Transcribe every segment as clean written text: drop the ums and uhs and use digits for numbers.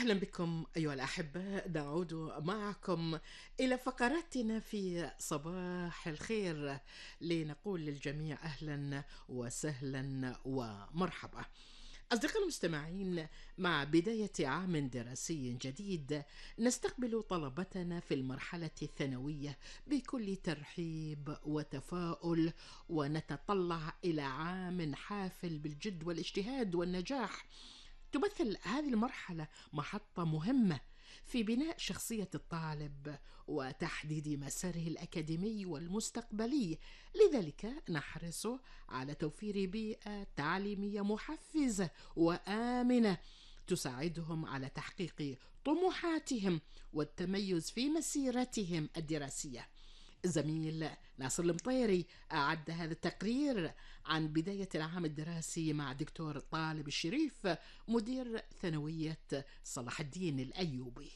أهلا بكم أيها الأحباء، نعود معكم إلى فقراتنا في صباح الخير لنقول للجميع أهلا وسهلا ومرحبا. أصدقائي المستمعين، مع بداية عام دراسي جديد نستقبل طلبتنا في المرحلة الثانوية بكل ترحيب وتفاؤل، ونتطلع إلى عام حافل بالجد والاجتهاد والنجاح. تمثل هذه المرحلة محطة مهمة في بناء شخصية الطالب وتحديد مساره الأكاديمي والمستقبلي، لذلك نحرص على توفير بيئة تعليمية محفزة وآمنة تساعدهم على تحقيق طموحاتهم والتميز في مسيرتهم الدراسية. الزميل ناصر المطيري أعد هذا التقرير عن بداية العام الدراسي مع دكتور طالب الشريف، مدير ثانوية صلاح الدين الأيوبي.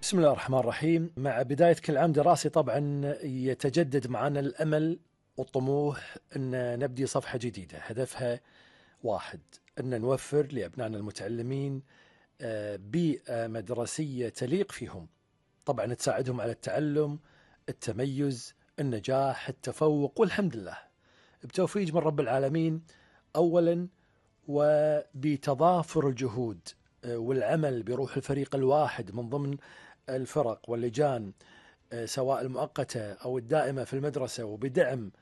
بسم الله الرحمن الرحيم. مع بداية كل عام دراسي طبعا يتجدد معنا الأمل والطموح أن نبدي صفحة جديدة، هدفها واحد، أن نوفر لأبنائنا المتعلمين بيئة مدرسية تليق فيهم، طبعا تساعدهم على التعلم، التميز، النجاح، التفوق، والحمد لله بتوفيق من رب العالمين أولا، وبتضافر الجهود والعمل بروح الفريق الواحد من ضمن الفرق واللجان سواء المؤقتة أو الدائمة في المدرسة، وبدعم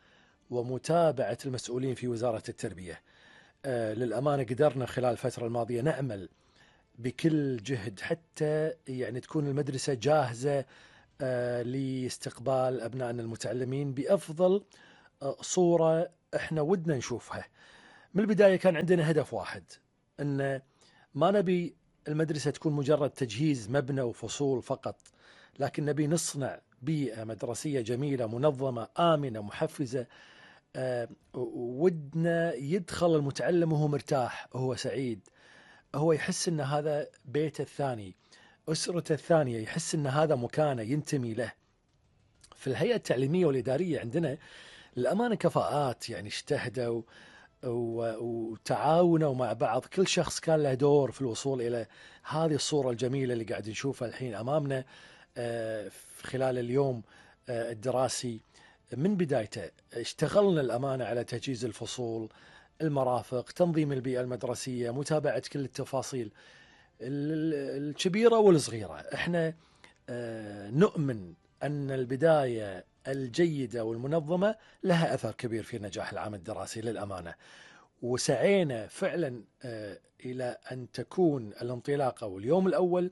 ومتابعة المسؤولين في وزارة التربية. للأمانة قدرنا خلال الفترة الماضية نعمل بكل جهد حتى يعني تكون المدرسة جاهزة لاستقبال أبنائنا المتعلمين بأفضل صورة احنا ودنا نشوفها. من البداية كان عندنا هدف واحد، أن ما نبي المدرسة تكون مجرد تجهيز مبنى وفصول فقط، لكن نبي نصنع بيئة مدرسية جميلة منظمة آمنة محفزة. ودنا يدخل المتعلم وهو مرتاح، وهو سعيد، هو يحس أن هذا بيته الثاني، أسرته الثانية، يحس أن هذا مكانه ينتمي له. في الهيئة التعليمية والإدارية عندنا للأمانة كفاءات يعني اجتهدوا وتعاونوا مع بعض، كل شخص كان له دور في الوصول إلى هذه الصورة الجميلة اللي قاعد نشوفها الحين أمامنا خلال اليوم الدراسي. من بدايته اشتغلنا الأمانة على تجهيز الفصول، المرافق، تنظيم البيئة المدرسية، متابعة كل التفاصيل الكبيرة والصغيرة. احنا نؤمن أن البداية الجيدة والمنظمة لها أثر كبير في نجاح العام الدراسي للأمانة، وسعينا فعلا إلى أن تكون الانطلاقة واليوم الأول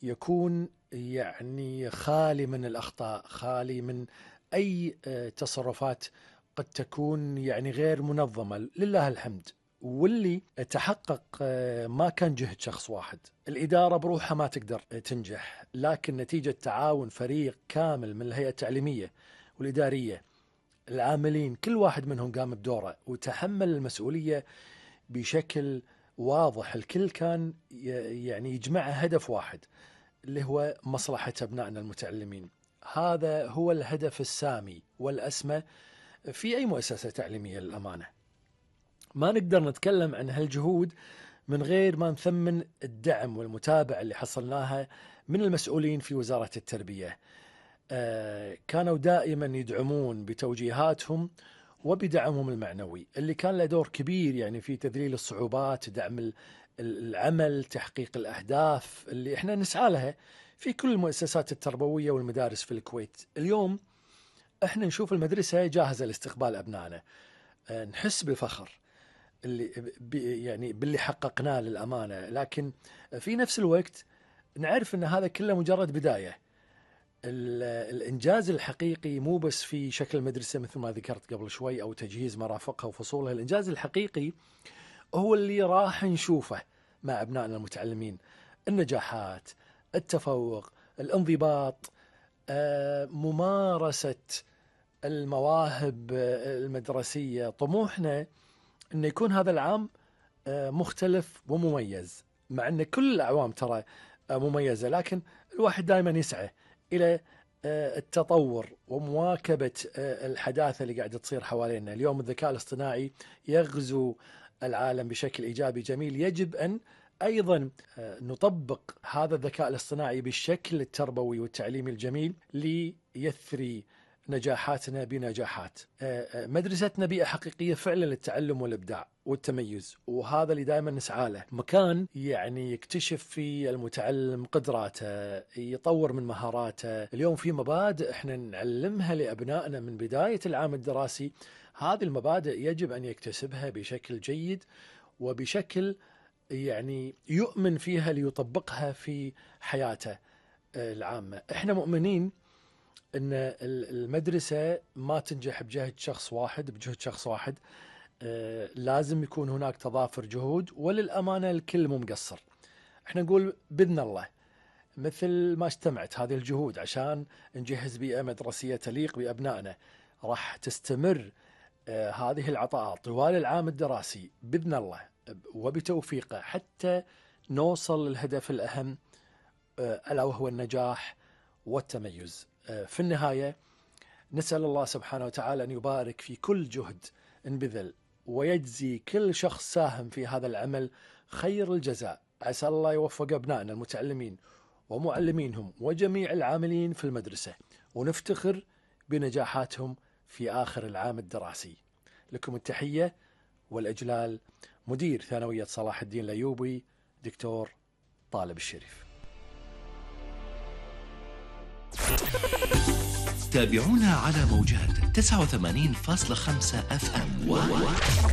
يكون يعني خالي من الأخطاء، خالي من أي تصرفات قد تكون يعني غير منظمة، لله الحمد. واللي تحقق ما كان جهد شخص واحد، الإدارة بروحها ما تقدر تنجح، لكن نتيجة تعاون فريق كامل من الهيئة التعليمية والإدارية، العاملين كل واحد منهم قام بدوره وتحمل المسؤولية بشكل واضح. الكل كان يعني يجمع هدف واحد اللي هو مصلحة أبنائنا المتعلمين. هذا هو الهدف السامي والأسمى في أي مؤسسة تعليمية للأمانة. ما نقدر نتكلم عن هالجهود من غير ما نثمن الدعم والمتابعة اللي حصلناها من المسؤولين في وزارة التربية. كانوا دائما يدعمون بتوجيهاتهم وبدعمهم المعنوي اللي كان له دور كبير يعني في تذليل الصعوبات، دعم العمل، تحقيق الأهداف اللي احنا نسعى لها في كل المؤسسات التربوية والمدارس في الكويت. اليوم احنا نشوف المدرسة جاهزة لاستقبال أبنائنا، نحس بالفخر اللي يعني باللي حققناه للأمانة، لكن في نفس الوقت نعرف أن هذا كله مجرد بداية. الإنجاز الحقيقي مو بس في شكل المدرسة مثل ما ذكرت قبل شوي أو تجهيز مرافقها وفصولها، الإنجاز الحقيقي هو اللي راح نشوفه مع أبنائنا المتعلمين، النجاحات، التفوق، الانضباط، ممارسة المواهب المدرسية. طموحنا أن يكون هذا العام مختلف ومميز، مع أن كل الأعوام ترى مميزة، لكن الواحد دائما يسعى إلى التطور ومواكبة الحداثة اللي قاعدة تصير حوالينا. اليوم الذكاء الاصطناعي يغزو العالم بشكل إيجابي جميل، يجب أن أيضا نطبق هذا الذكاء الاصطناعي بالشكل التربوي والتعليمي الجميل ليثري نجاحاتنا بنجاحات. مدرستنا بيئة حقيقية فعلا للتعلم والإبداع والتميز، وهذا اللي دائما نسعى له. مكان يعني يكتشف فيه المتعلم قدراته، يطور من مهاراته. اليوم في مبادئ احنا نعلمها لأبنائنا من بداية العام الدراسي، هذه المبادئ يجب أن يكتسبها بشكل جيد وبشكل يعني يؤمن فيها ليطبقها في حياته العامة. احنا مؤمنين ان المدرسة ما تنجح بجهد شخص واحد، لازم يكون هناك تضافر جهود، وللأمانة الكل مو مقصر. احنا نقول بإذن الله مثل ما اجتمعت هذه الجهود عشان نجهز بيئة مدرسية تليق بأبنائنا، راح تستمر هذه العطاءات طوال العام الدراسي بإذن الله وبتوفيقه حتى نوصل للهدف الأهم، ألا وهو النجاح والتميز. في النهاية نسأل الله سبحانه وتعالى أن يبارك في كل جهد انبذل، ويجزي كل شخص ساهم في هذا العمل خير الجزاء. عسى الله يوفق أبنائنا المتعلمين ومعلمينهم وجميع العاملين في المدرسة، ونفتخر بنجاحاتهم في آخر العام الدراسي. لكم التحية والإجلال، مدير ثانوية صلاح الدين الأيوبي دكتور طالب الشريف. تابعونا على موجات 89.5 FM و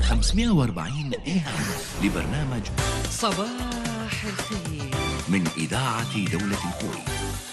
540 AM لبرنامج صباح الخير من إذاعة دولة الكويت.